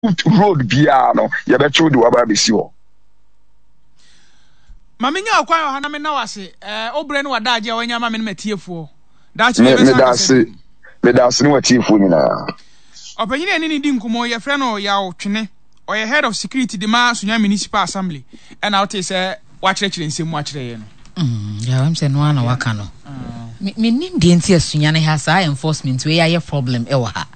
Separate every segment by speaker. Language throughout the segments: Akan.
Speaker 1: Road biara no yɛbɛkye wo de wo aba abɛsi hɔ.
Speaker 2: Ma menya ɔkwan wɔ ha na menna wo ase eh, wo berɛ ne w'adaagye a wanya ama me ne m'atiefoɔ. Daakye
Speaker 1: Me,
Speaker 2: yɛbɛsan
Speaker 1: meda
Speaker 2: akasa
Speaker 1: ase,
Speaker 2: bio.
Speaker 1: meda ase ne w'atiefoɔ nyinaa.
Speaker 2: Ɔpanyin a yɛne no di nkɔmmɔ yi, yɛfrɛ no Yaw Twene. Ɔyɛ Head of Security de ma Sunyani Municipal Assembly. Ɛna wotee sɛ wakyerɛkyerɛ nsɛm mu akyerɛ yɛn no.
Speaker 3: Mm, yeah, I'm saying no one waka no. Me me nim deɛ nti a Sunyani ha saa enforcement wei ayɛ problem ɛwɔ ha.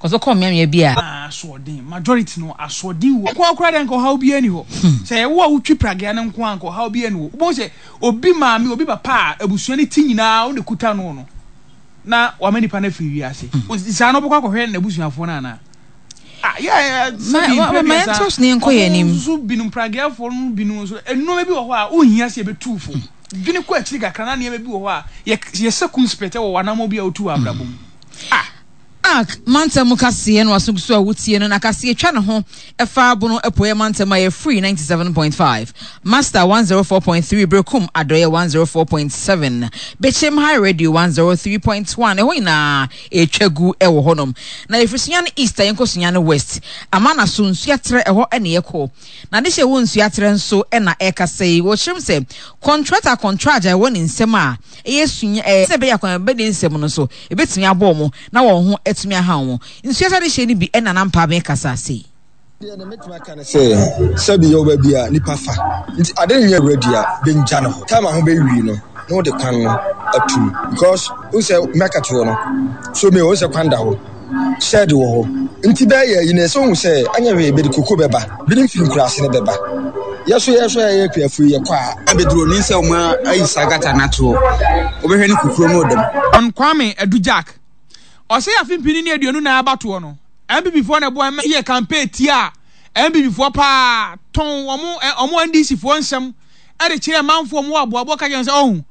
Speaker 3: Kɔsɛ kɔ mmeammea bi a.
Speaker 2: Asoɔden, majority no asoɔden wɔ. Nko ara koraa deɛ nka ɔhaw biara nni hɔ. Sɛ ɛyɛ wo a wotwi pragea no nko ara nka ɔhaw biara nni hɔ. Wobɛhu sɛ obi maame, obi papa a abusua no ti nyinaa wo na ɛkuta no no, na wama nipa no afiri wiase. Saa no wobɛkɔ akɔhwɛ n'abusuafoɔ no anaa? Ah, yeah, sɛbi
Speaker 3: Ma, ma,
Speaker 2: mprɛ
Speaker 3: ma
Speaker 2: aduasa,
Speaker 3: yɛntoa so na yɛnkɔ yɛn
Speaker 2: wɔn
Speaker 3: anim.
Speaker 2: nso binom, prageafoɔ no binom nso, nneɛma bi wɔ hɔ a wonhia sɛ yɛbɛtu fo. Dwene kɔ akyiri kakra na nneɛma bi wɔ hɔ a yɛ, yɛ circumspect wɔ w'anammɔn bi a wotu wɔ abrabɔ mu. Ah!
Speaker 3: Ark mantam mu kaseɛ no aso gu so a wotie no na kaseɛ twa ne ho fa Bono Apueɛ mantam a ɛyɛ Free 97.5, Master 104.3, Berekum Adɔeɛ 104.7, Bekyem High Radio 103.1, ɛhɔ nyinaa ɛretwa gu wɔ hɔnom. Na yɛfiri Sunyani East a yɛnkɔ Sunyani West, Amana so Nsuaterɛ ɛhɔ na yɛkɔ. Na adehye a ɛwɔ Nsuaterɛ nso na ɛrekasa yi, wɔkyerɛ mu sɛ kɔntrata kɔntragye a ɛwɔ ne nsam a ɛyɛ Sunya ɛɛ sɛ ɛbɛyɛ akwan bɛde nsɛm no nso ɛbɛtumi abɔ wɔn na wɔn ho atumi aha wɔn. Nsuaterɛ adehyeɛ no bi na na Mpaabee kasa sei.
Speaker 4: Deɛ na mɛtumi aka ne sɛ, sɛbi yɛwɔ baabi a nipa fa nti ade nyɛ ready a bɛngya no hɔ. Time a ho bɛwie no na wode kwan no atum because wohu sɛ market hɔ no so me wohu sɛ kwan da hɔ, shed wɔ hɔ nti bɛyɛ ayi no ɛsɛ wohu sɛ anyɛ hwee bɛde koko bɛba, binom firi nkuraase no bɛba. Yɛ so yɛ so yɛyɛ akuafoɔ yi yɛkɔ a.
Speaker 5: Abɛduru onim sɛ wɔn ayi saa gata no ato hɔ, wobɛhwɛ ne kukuro no ɔda mu.
Speaker 2: Hon Kwame Adu Jack, ɔse afe mpini ne 24 abatoɔ no, NPP foɔ na ɛboa ma yɛ campaign tiaa NPP foɔ paa, tɔn wɔn wɔn NDC foɔ nsɛm de kyerɛɛ manfoɔ wɔn wɔ aboaboa ka kyerɛ wɔn sɛ ɔhu.